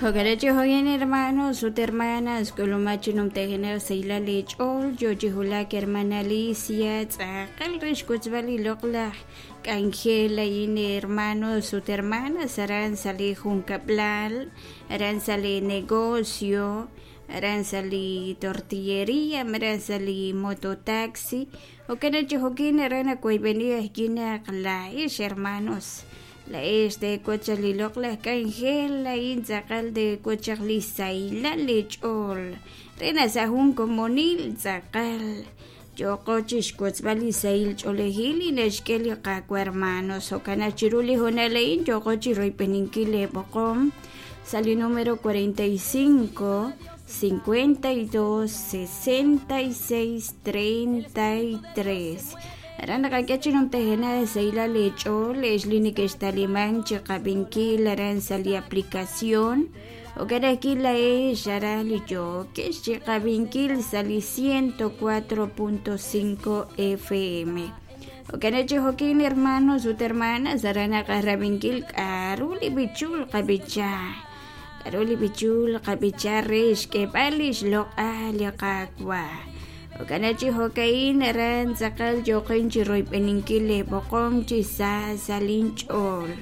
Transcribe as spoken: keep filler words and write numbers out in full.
Jo'kan jo'kan hermanos ut hermanas k'ulumaj chi numtajenaq sahilal eech'ool yoo chi wulak hermana Alicia tz'aqal re xwotzb'al li loq'laj k'anjel ayin hermanos ut hermanas aran sa' li junkab'lal aran sa' li negocio aran sa' li tortilleria malaj sa' li mototaxi jo'kan chi jo'kin aran nawoyb'eni ajwi' naq laa'ex hermanos laa'ex teewotz chaq li loq'laj k'anjel a'in tz'aqal teewotz chaq li sahilal eech'ool re naq sa' jun komonil tz'aqal yooqo chixwotzb'al li sahil ch'oolejil li naxk'e li Qaawa' hermanos jo'kan naq chiru li hoonal a'in yooqo chiroyb'eninkil leeb'oqom sa' li número cuarenta y cinco cincuenta y dos sesenta y seis treinta y tres aran naqak'e chi numtajenaq sahilal eech'ool ex li neke'xtaliman chiqab'inkil aran sa' li aplicación jo'kan ajwi' laa'ex aran li yookex chiqab'inkil sa' li ciento cuatro punto cinco F M jo'kan chi jo'kin hermanos ut hermanas aran naqarab'inkil k'a'ru li b'ichul qab'icha k'a'ru li b'ichul qab'icha re xk'eeb'al li xloq'al li Qaawa' jo'kan chi jo'ka'in aran tz'aqal yooqin chiroyb'eninkil leeb'oqom chi sa sa' linch'ool.